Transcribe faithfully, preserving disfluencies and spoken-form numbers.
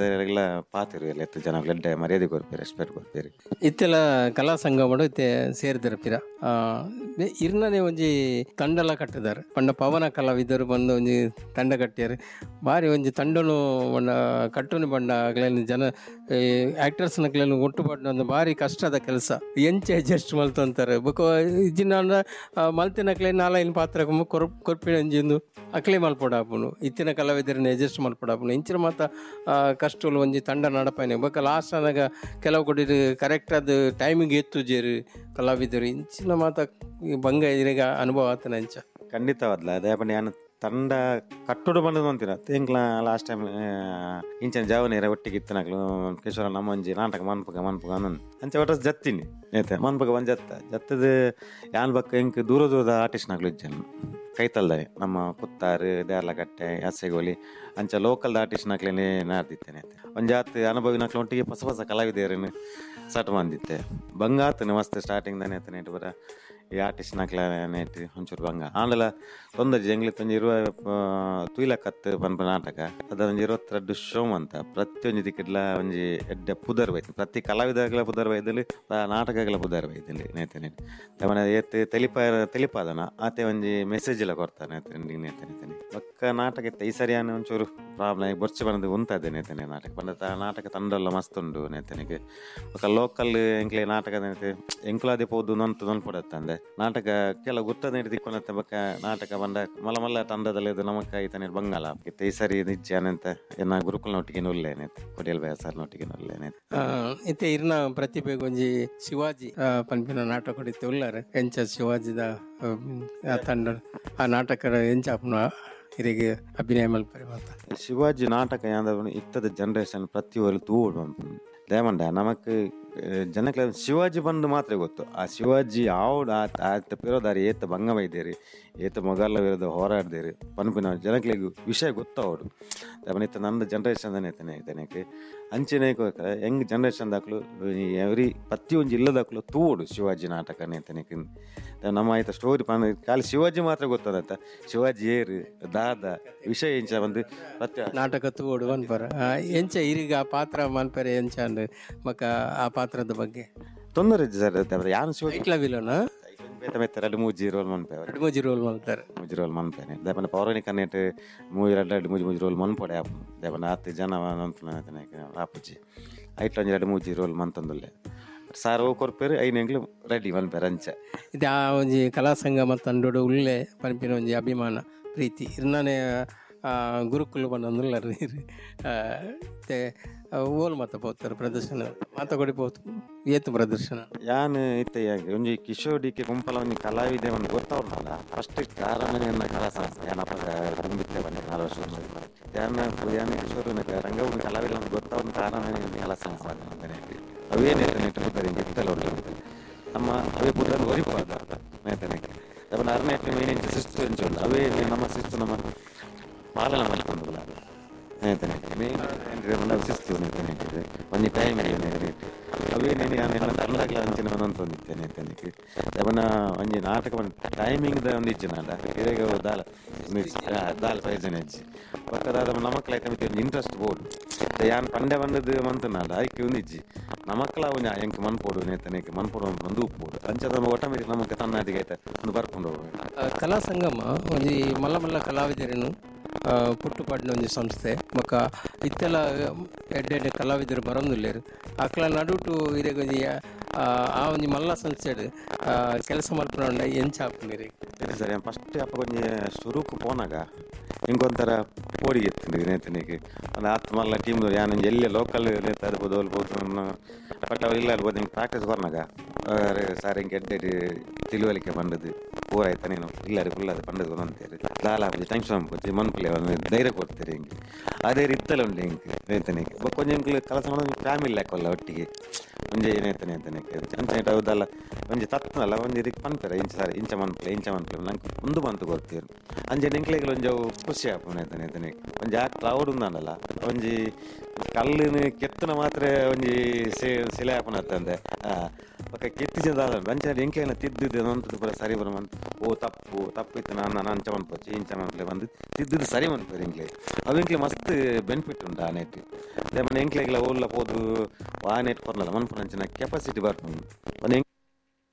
ಕಲಾವಿದರಿಗೆಲ್ಲ ಪಾತಿರು ಎಲ್ಲ ಎತ್ತು ಜನ ಎಡ್ಡೆ ಮರ್ಯಾದೆ ಕೊರ್ಪೇರು, ರೆಸ್ಪೆಕ್ಟ್ ಕೊರ್ಪೇರು. ಇತ್ತೆಲ್ಲ ಕಲಾ ಸಂಗಮಡು ಇತ್ತೆ ಸೇರಿದಿರಪಿರ ಇರ್ನನೆ ಒಂಜಿ ತಂಡಲ ಕಟ್ಟಿದ್ದಾರೆ. ಪಂಡ ಪವನ ಕಲಾವಿದರು ಬಂದು ಒಂಜಿ ತಂಡ ಕಟ್ಟಿಯಾರು. ಬಾರಿ ಒಂಜಿ ತಂಡನು ಬಣ್ಣ ಕಟ್ಟುನು ಬಣ್ಣ ಅಗ್ಲೇನು ಜನ ಆ್ಯಕ್ಟರ್ಸ್ ನಕ್ಲೇನು ಒಟ್ಟು ಪಡ್ನ ಬಾರಿ ಕಷ್ಟದ ಕೆಲಸ. ಎಂಚ ಅಡ್ಜಸ್ಟ್ ಮಲ್ತಂತಾರೆ ಬೊಕ ಇಜ್ಜಿನ ಮಲ್ತಿನಕ್ಲೆ ನಾಲೈನ್ ಪಾತ್ರ ಕೊರ್ ಕೊರ್ಪಿನ ಒಂಜಿಂದು ಅಕ್ಲೆ ಮಲ್ಪೊಡಾಪುನು ಇತ್ತಿನ ಕಲಾವಿದರನ್ನ ಅಡ್ಜಸ್ಟ್ ಮಲ್ಪೊಡಾಪುನು ಇಂಚಿನ ಮಾತ ಕಷ್ಟಲು ಒಂಜಿ ತಂಡ ನಡಪಾಯಿನ. ಬೊಕ ಲಾಸ್ಟ್ ಅನಾಗ ಕೆಲವು ಕೊಡಿ ಕರೆಕ್ಟ್ ಆದ ಟೈಮಿಗೆ ಎತ್ತುಜೇರು ಕಲಾವಿದರು ಇಂಚಿನ ಮಾತ ಬಂಗ ಇರೆಗ ಅನುಭವ ಆತನ ಅಂಚ. ಖಂಡಿತವಾದ್ಲ ಅದೇ ಪಂಡ ಯಾನ್ ತಂಡ ಕಟ್ಟುಡು ಬಂದದ್ದು ಅಂತೀರ ತಿಂಗ್ಲ ಲಾಸ್ಟ್ ಟೈಮ್ ಇಂಚಿನ ಜಾವನೇರ ಒಟ್ಟಿಗೆ ಇತ್ತನಕ್ಲು ಕಿಶೋರ ನಮ್ಮಂಜಿ ನಾಟಕ ಮನ್ಪಗ ಮನ್ಪಗ ಅನ್ನೋದು ಅಂಚೆ ಒಟ್ಟ ಜತ್ತಿನಿ ಏತೆ ಮನ್ಪಗ ಬಂದು ಜತ್ತ ಜತ್ತದ ಯಾನ್ ಬಕ್ಕ ಇಂಕ್ ದೂರ ದೂರದ ಆರ್ಟಿಸ್ಟ್ನಾಗ್ಲು ಇಜ್ಜನ್ ಕೈತಲ್ದಾನೆ ನಮ್ಮ ಪುತ್ತಾರು ದೇರ್ಲಕಟ್ಟೆ ಯಾಸೆಗೋಲಿ ಅಂಚ ಲೋಕಲ್ದ ಆರ್ಟಿಸ್ಟ್ನಾಕ್ಲೇನೆ ನಾಡ್ದಿತ್ತೇನೆ. ಒಂಜಾತ್ ಅನುಭವಿನಾಕ್ಲು ಒಟ್ಟಿಗೆ ಹೊಸ ಹೊಸ ಕಲಾವಿದರನ್ನು ಸಟ್ ಬಂದಿತ್ತೆ ಬಂಗ ಆತನೆ ಮಸ್ತ್ ಸ್ಟಾರ್ಟಿಂಗ್ ತಾನೆ ಆತನೆ ಬರ ಈ ಆರ್ಟಿಸ್ಟ್ ನಕ್ಲ ನೇಟ್ ಒಂಚೂರು ಬಂಗ ಆಂಡಲ ತೊಂದರೆ ಜಂಗ್ಲಿ ತೊಂಜಿ ಇರುವ ತುಯ್ಲಕತ್ ಪನ್ಪ ನಾಟಕ ಅದೊಂಜಿ ಇರುವತ್ತೆರಡು ಶೋ ಅಂತ ಪ್ರತಿಯೊಂಜಿ ದಿಕ್ಕಿಡ್ಲ ಒಂಜಿ ಎಡ್ಡೆ ಪುದರ್ ಬೈತು ಪ್ರತಿ ಕಲಾವಿದಗಳ ಪುದರ್ ಬೈದಲ್ಲಿ ನಾಟಕಗಳ ಪುದರ್ ಬೈದಲ್ಲಿ ನೇತನೆ ತಮನ ಏತ್ ತೆಲಿಪ ತೆಲಿಪಾದನ ಆತೆ ಒಂಜಿ ಮೆಸೇಜ್ ಎಲ್ಲ ಕೊಡ್ತಾನೆ ನೇತನೆ ನೇತನೆ ಬಕ್ಕ ನಾಟಕ ಇತ್ತ ಈ ಸರಿಯಾನ ಒಂಚೂರು ಪ್ರಾಬ್ಲಮ್ ಬೊರ್ಚೆ ಬಂದು ಉಂತಾದೆ ನೇತನೆ ನಾಟಕ ಬಂದ ನಾಟಕ ತಂಡಲ್ಲ ಮಸ್ತ್ ಉಂಡು ನೇತನಿಗೆ ಬೊಕ್ಕ ಲೋಕಲ್ ಎಂಕ್ಲೆ ನಾಟಕ ನೇತೆ ಎಂಕ್ಲಾದೆ ಪೋದು ನೊಂತು ನೊನ್ಪೊಡತ್ತಂದೆ ನಾಟಕ ಕೆಲವು ಗುರ್ತದ ನೀಡಿ ದಿಕ್ಕೊನತ್ತೆ ಬೊಕ್ಕ ನಾಟಕ ಬಂದ ಮಲ್ಲ ಮಲ್ಲ ತಂಡದಲ್ಲಿ ಇದು ನಮಕ್ಕ ಈತನೇ ಬಂಗಾಲ ಇತ್ತ ಈ ಸರಿ ನಿಜ್ಜ ಅನಂತ ಎನ್ನ ಗುರುಕುಲ್ನೊಟ್ಟಿಗೆ ಉಲ್ಲೇನೆ ಕೊಡಿಯಲ್ ಬಯಸರ್ನೊಟ್ಟಿಗೆ ಉಲ್ಲೇನೆ. ಇತ್ತೆ ಇರ್ನ ಪ್ರತಿಭೆಗೆ ಒಂಜಿ ಶಿವಾಜಿ ಪನ್ಪಿನ ನಾಟಕ ಇತ್ತೆ ಉಲ್ಲಾರ ಎಂಚ ಶಿವಾಜಿದ ತಂಡ ಆ ನಾಟಕ ಎಂಚ ಇರಿಗೆ ಅಭಿನಯ ಮಲ್ಪರೆ ಮಾತ ಶಿವಾಜಿ ನಾಟಕ ಯಾಂದ ಇತ್ತದ ಜನರೇಷನ್ ಪ್ರತಿಯೊಂದು ತೂಡು ದೇಮಂಡ ನಮಕ್ ಜನಕ್ಕೆ ಶಿವಾಜಿ ಬಂದು ಮಾತ್ರ ಗೊತ್ತು. ಆ ಶಿವಾಜಿ ಆವಡ ಆತ ಪಿರೋದಾರಿ ಏತ ಭಂಗ ಬೈದೇರಿ ಏತ ಮೊಘಲ ವಿರುದ್ಧ ಹೋರಾಡ್ದೇರಿ ಪನ್ಪಿನ ಜನಕ್ಲೆಗ್ ವಿಷಯ ಗೊತ್ತಾವಡು. ಇತ್ತ ನಂದು ಜನರೇಷನ್ ತಾನೆ ಅಂಚೆನೆ ಯಂಗ್ ಜನರೇಷನ್ ದಾಕ್ಲು ಎವ್ರಿ ಪ್ರತಿಯೊಂದು ಇಲ್ಲದಾಕ್ಲು ತೂಡು ಶಿವಾಜಿ ನಾಟಕ ನೇತನೆಕ್ ನಮ್ಮ ಆಯ್ತ ಸ್ಟೋರಿ ಪನ್ ಖಾಲಿ ಶಿವಾಜಿ ಮಾತ್ರ ಗೊತ್ತದಂತ ಶಿವಾಜಿ ಏರು ದಾದ ವಿಷಯ ಎಂಚ ಬಂದು ಪ್ರತಿ ನಾಟಕ ತೂಡು ಮನ್ಪರ ಎಂಚ ಇರಿಗ ಆ ಪಾತ್ರ ಮನ್ಪರೆ ಎಂಚ ಅಂದ್ ಮಕ್ಕ ಆ ಪಾತ್ರದ ಬಗ್ಗೆ ತೊಂದರೆ ಸರ್ ಯಾನು ಶಿವಾಜಿ ವಿಲೋನ ಬೇತ ಬೇತ ಎರಡು ಮೂಜಿ ರೋಲ್ ಮನ್ಪೆ ಎರಡು ಮೂಜಿ ರೋಲ್ ಮಲ್ತಾರೆ ಮೂಜಿ ರೋಲ್ ಮನ್ಪೇನೆ ದೇಪನ ಪೌರಾಣಿಕ ನೆಟ್ ಮೂಜಿ ಎರಡು ಎರಡು ಮೂಜಿ ಮೂಜಿ ರೋಲ್ ಮನ್ಪೊಡೆ ಆಪು ದೇಪನ ಆತು ಜನ ಆಪುಜಿ ಐಟ್ಲ ಒಂಜಿ ಎರಡು ಮೂಜಿ ರೋಲ್ ಮಂತಂದುಲ್ಲೆ ಸಾರ್ ಓ ಕೊರ್ಪೇರು ಐನು ಎಂಗ್ಲು ರೆಡಿ ಮನ್ಪೇರು ಅಂಚ ಇದು ಆ ಒಂಜಿ ಕಲಾ ಸಂಗಮ ತಂಡೋಡು ಉಲ್ಲೆ ಪನ್ಪಿನ ಒಂಜಿ ಅಭಿಮಾನ ಪ್ರೀತಿ ಇರ್ನಾನೆ ಗುರುಕುಲು ಬಂದೊಂದುಲ್ಲಾರ ಓಲ್ ಮಾತ ಪೋತಾರೆ ಪ್ರದರ್ಶನ ಮಾತ ಕೊಡಿ ಪೋತು ಏತು ಪ್ರದರ್ಶನ ಯಾನ್ ಇತ್ತೆ ಒಂಜಿ ಕಿಶೋರ್ ಡಿ ಕೆ ಗುಂಪಲ ಒಂಜಿ ಕಲಾವಿದೆ ಒಂದು ಗೊತ್ತವ್ರಲ್ಲ ಫಸ್ಟ್ ಕಾರಣ ಕಲಾ ಸಂಸ್ಥೆ ಯಾನಪ್ಪ ತುಂಬಿತ್ತೆ ಬನ್ನಿ ನಾಲ್ಕು ವರ್ಷ ಯಾನ ಯಾನ್ ಕಿಶೋರ್ ರಂಗಭೂಮಿ ಕಲಾವಿದ ಒಂದು ಗೊತ್ತವ್ರ ಕಾರಣ ಕಲಾ ಸಂಸ್ಥೆ ಅವೇನೇ ನಮ್ಮ ಅವೇ ಪುದರ್ ಒರಿಪಾದ ನೇತನೆಗೆ ಅರನೇ ಮೇನ್ ಶಿಸ್ತು ಎಂಚ ಉಂಟು ಅವೇ ನಮ್ಮ ಶಿಸ್ತು ನಮ್ಮ ಪಾಲನೆ ಮಲ್ಪೊಂದುಲ್ಲ ನೇತನೆ ಮೇನ್ ಶಿಸ್ತು ನೇತನೆ ಒಂಜಿ ಟೈಮ್ ಅವೇ ತಂಡಗ್ಲ ಅಂಚಿನ ಒಂದೊಂದಿತ್ತೆ ನೇತನಿಗೆ ಅವನ ಒಂಜಿ ನಾಟಕ ಟೈಮಿಂಗ್ ದ ಒಂದು ಇಜ್ಜಿ ನಾಡ ಇರೆಗ್ ದಾಲ ದಾಲ ಪ್ರಯೋಜನ ಇಜ್ಜಿ ಬೊಕ್ಕ ನಮಕ್ಲ ಇಂಟ್ರೆಸ್ಟ್ ಬೋಡು ಯಾನ್ ಪಂಡೆ ಬಂದದ್ದು ಮಂತನಾಡ ಐಕ್ ಒಂದಿಜ್ಜಿ ನಮಕ್ಲ ಒಂಜಿ ಎಂಕ್ ಮನ್ಪೊಡು ನೇತನಿಗೆ ಮನ್ಪೊಡು ಒಂದು ಉಪ್ಪೋಡು ಅಂಚ ನಮ್ಮ ಆಟೋಮೆಟಿಕ್ ನಮಕ್ ತನ್ನಾದಿಗೆ ಐತೆ ಒಂದು ಬರ್ಕೊಂಡು ಕಲಾ ಸಂಗಮ ಒಂಜಿ ಮಲ್ಲ ಮಲ್ಲ ಕಲಾವಿದರನ್ನು ಪುಟ್ಟು ಪಾಡಿನ ಒಂಜಿ ಸಂಸ್ಥೆ ಬೊಕ್ಕ ಇತ್ತೆಲ್ಲ ಎಡ್ಡೆ ಎಡ್ಡೆ ಕಲಾವಿದರು ಬರೋದಿಲ್ಲೇರು ಅಕ್ಲ ನಡುಟು ಇರೆಗ್ ಒಂಜಿ ಆ ಒಂಜಿ ಮಲ್ಲ ಸಂಸ್ಥೆ ಕೆಲಸ ಮಲ್ಪುನ ಎಂಚ ಆಪುಂಡು ಸರ್ ಫಸ್ಟ್ ಅಪ್ಪ ಒಂಜಿ ಸುರುಕು ಪೋನಾಗ ಇಂಕೊಂಥರ ಪೋಡಿಗೆ ಇತ್ತು ನೇತನಿಗೆ ಒಂದು ಆತ್ ಮಲ್ಲ ಟೀಮ್ ಯಾನ್ ಒಂಜಿ ಎಲ್ಲೆ ಲೋಕಲ್ ನೇತ ಇರ್ಬೋದು ಅಲ್ಬೋದು ಬಟ್ ಅವ್ರು ಇಲ್ಲ ಅಲ್ಬೋದು ಹಿಂಗೆ ಪ್ರಾಕ್ಟೀಸ್ ಕೊರ್ನಾಗ ಸರ್ ಹಿಂಗೆ ಎಡ್ಡೆ ತಿಳುವಳಿಕೆ ಬಂದದ್ದು ಪೂರ ಆಯ್ತಾ ನೀನು ಇಲ್ಲ ರೀ ಫುಲ್ ಅದು ಪಂಡದು ಅಂತೀರಿ ಲಾಲ ಟೆನ್ಷನ್ ಅನ್ಪುಜಿ ಮನ್ಪುಲೆ ಒಂದು ಧೈರ್ಯ ಕೊಡ್ತೀರಿ ಹಿಂಗೆ ಅದೇ ರೀತಿಯಲ್ಲ ಉಂಟು ಹಿಂಗೆ ನೇತನಿಗೆ ಕೊಂಚ ಎಂಕ್ಲು ಕೆಲಸ ಮಾಡೋದು ಫ್ಯಾಮಿಲಿ ಲೆಕ್ಕಲ್ಲ ಒಟ್ಟಿಗೆ ಒಂಜಿ ಏನೇತನೆ ಅಂತಾನೆ ಅಂಚ ಹೌದಲ್ಲ ಒಂಜಿ ತತ್ನಲ್ಲ ಒಂಜಿ ರೀತಿ ಪನ್ಪೆರ ಇಂಚ ಸರಿ ಇಂಚ ಮನ್ಪಲೆ ಇಂಚ ಮನ್ಪಲೆ ನಂಗೆ ಉಂದು ಮಂತು ಕೊರ್ತೀರು ಅಂಚೆ ಎಂಕ್ಲೆಗ್ಲ ಒಂಜಿ ಅವು ಖುಷಿ ಆಪುನ ಐತನೆ ಒಂಜಿ ಆ ಕ್ಲೌಡ್ ಉಂದಲ್ಲ ಒಂಜಿ ಕಲ್ಲಿನ ಕೆತ್ತನ ಮಾತ್ರ ಒಂಜಿ ಶಿಲೆ ಆಪುನ ಅತ್ತಂದೆ ಬೊಕ ಕೆತ್ತಿಜ ದಾದ ಅಂಚ ಎಂಕ್ಲೆನ ತಿದ್ದಿದ್ದು ನಂತದ್ದು ಪೂರ ಸರಿ ಬರ ಮಂತ್ ಓ ತಪ್ಪು ತಪ್ಪು ಇತ್ತು ನಾನು ನಾನು ಅಂಚ ಮನ್ಪೊಚ್ಚಿ ಇಂಚ ಮನ್ಪಲೆ ಬಂದು ತಿದ್ದಿದ್ದು ಸರಿ ಮನ್ಪೇರು ಎಂಕ್ಲೆ ಅವು ಎಂಕ್ಲೆ ಮಸ್ತ್ ಬೆನಿಫಿಟ್ ಉಂಟು ಆ ನೆಟ್ ಮನೆ ಎಂಕ್ಲೆಗ್ಲ ಓಲ್ಲ ಪೋದು ಆ ನೆಟ್ ಕೊರ್ನಲ್ಲ ಮನ್ಪುನಂಚಿನ ಕೆಪಾಸಿಟಿ ಬರ್ಪುಂಡು.